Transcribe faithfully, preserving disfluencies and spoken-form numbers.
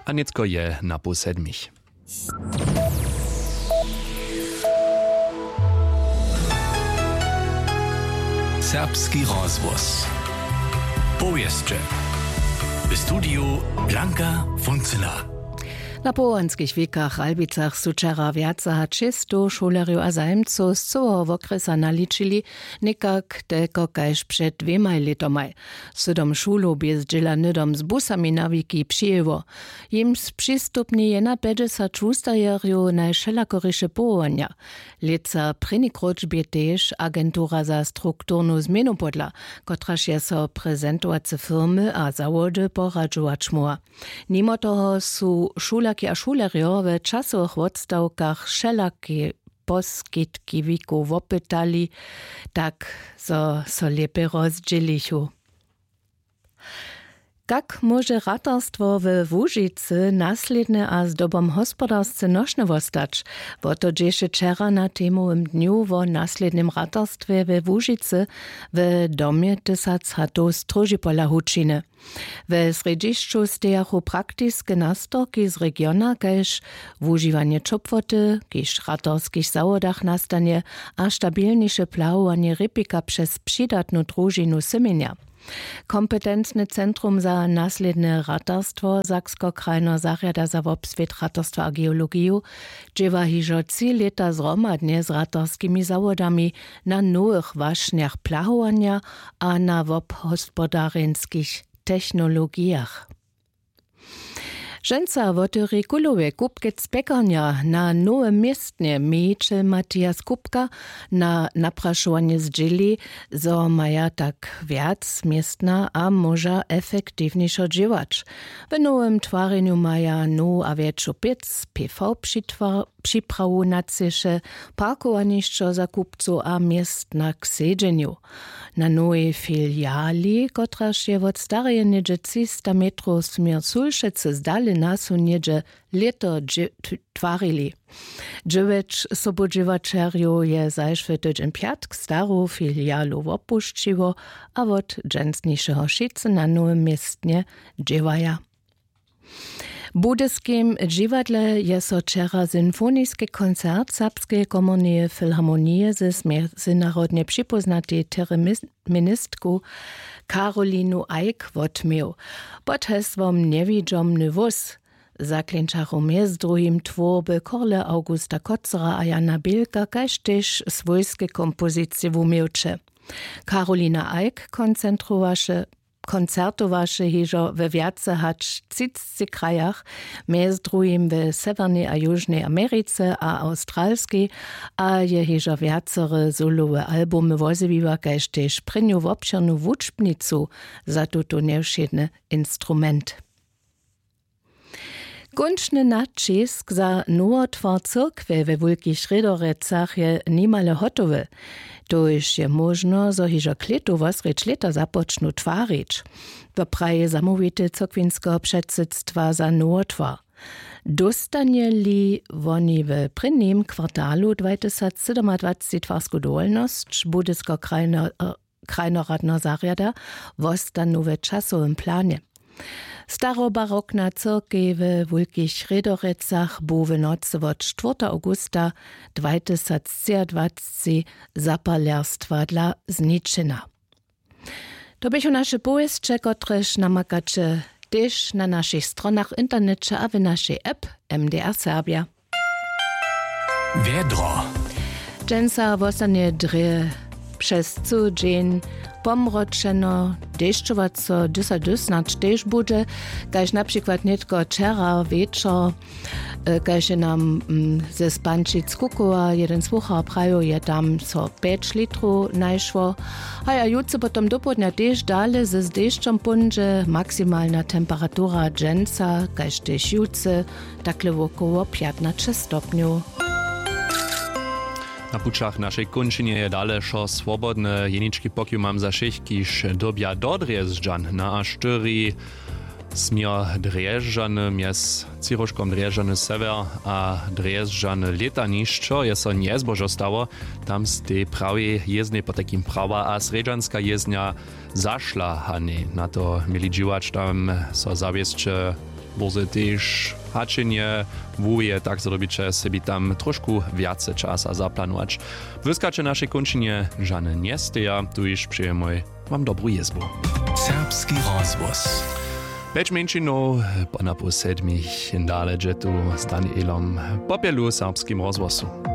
A nětko je na pół sedmich. Serbski rozhłos. Powěsće. W studiju Blanka Funcyna. Na powołanskich wikach w Albicach su wčera wjace hač šěsćstow šulerjow a zajimcow z cyłeho wokrjesa naličili, někak telko kaž před dwěmaj lětomaj. Sydom šulow bě zdźěla hnydom z busami na wiki přijěło. Jimž přistupni jena pjećdźesat wustajerjow najwšelakoriše powołanja. Lětsa prěni króć bě tež agentura za strukturnu změnu podla, kotraž je so prezentowace firmy a zawody poradźować móhła. Nimo toho su šulerki a šulerjo w časowych wotstawkach wšelake poskitki wikow wopytali, tak zo so lěpje rozdźělichu. Kak móže ratarstwo we Łužicy naslědne a zdobom hospodarsce nošne wostać? Wo to dźěše wčera na temowym dnju wo naslědnym ratarstwje we Łužicy w domje tysac hatow stróžipola hučiny. We srjedźišću stejachu praktiske nastorki z regiona kaž wužiwanje ćopłoty, kiž w ratarskich zawodach nastanje, a stabilniše plahowanje rěpika přez přidatnu družinu syměnja. Kompetencne centrum za naslědne ratarstwo Saksko-krajneho zarjada za wobswět ratarstwa a geologiju dźěła hižo tři lěta zhromadnje z ratarskimi zawodami na nowych wašnjach plahowanja a na wobhospodarjenskich technologijach. Dźensa wotyri kulowe kupkec pjekarnja na nowym městnje. Mějićel Matias Kupka na naprašowanje zdźěli, zo maja tak wjac městna a móža efektiwnješo dźěłać. W nowym twarjenju maja nowu a wjetšu pěc, pěw přitwa- připrawu na třěše, parkowanišćo za kupcow a městna k sedźenju. Na nowej filiali, kotraž je wot stareje něhdźe třista metrow směr sulšecy zdale, na su něhdźe lěto dźě- t- twarili. Dźewjeć sobudźěłaćerjow je zašły tydźeń pjatk staru filialu wopušćiło a wot dźensnišeho wšitcy na nowym městnje dźěłaja. W budyskim dźiwadle je so wčera symfoniski koncert Serbskeje komorneje filharmonije z mjezynarodnje připóznatej tereministku Karolinu Eick wotměł. Pod hesłom Njewidźomny wós zaklinčachu mjez druhim twórby Korle Augusta Kotzera a Jana Bilka kaž tež swójske kompozicije wuměłće. Karolina Eick koncentrowaše koncertowaše hižo we wjace hač třicci krajach, mjez druhim w Sewjernej a Južnej Americe a Awstralskej, a je hižo wjacore solowe albumy wozjewiła kaž tež prěnju wobšěrnu wučbnicu za tuto njewšědny instrument. Kónčny naćisk za nowotwar cyrkwje we Wulkich Rědorecach je nimale hotowy. Tož je móžno, zo hižo klětu wosrjedź lěta započnu twarić. To praji zamołwitel cyrkwinskeho předsydstwa za nowotwar. Dóstanje-li woni w prěnim kwartalu dwajtysacsydomadwacci twarsku dowolnosć, budysko krajno krajnoradneho zarjada wostanu w časowym planje. Starobarokna cyrkej we Wulkich Rědorecach bu w nocy wot štwórta awgusta dwajtysactřiadwacci zapalerstwadla zničena. To běchu naše powěsće, kotrež namakaće tež na našich stronach w interneće a w našej app M D R Serbja. Wjedro. Dźensa wostanje drje přez cyły dźeń pomročeno, dešćowaco, dysa dysnać tež budźe, kaž na přikład nětko wčera wječor, e, kaž je nam, mm, ze Spančic Kukowa jeden słuchar prajił, je tam so pjeć litrow našło. Haj, a jutře potom dopołdnja tež dale z dešćom póńdźe. Maksimalna temperatura dźensa kaž tež jutře takle wokoło pjatnaće stopnjow. Na pućach našej kónčinje je dale wšo swobodne. Jenički pokiw mam za wšěch, kiž dyrbja do Drježdźan na A štyri směr Drježdźany, mjez třiróžkom Drježdźany sewjer a Drježdźany lětanišćo je so njezbožo stało. Tam stej prawej jěznej, potajkim prawa a srjedźanska jěznja, zašla, a njej na to měli dźěłać. Tam so zawěsće Bórze tež hačenje, wuwije tak zo dobiće sebi tam tróšku wjace časa zaplanować. Błyskaće našej kónčinje žane njesteja, tuž přejemoj wam dobru jězbu. Serbski rozhłos. Pjeć mjeńšinow po napoł sedmich dale dźe tu z Danielom Popjelu w Serbskim rozhłosu.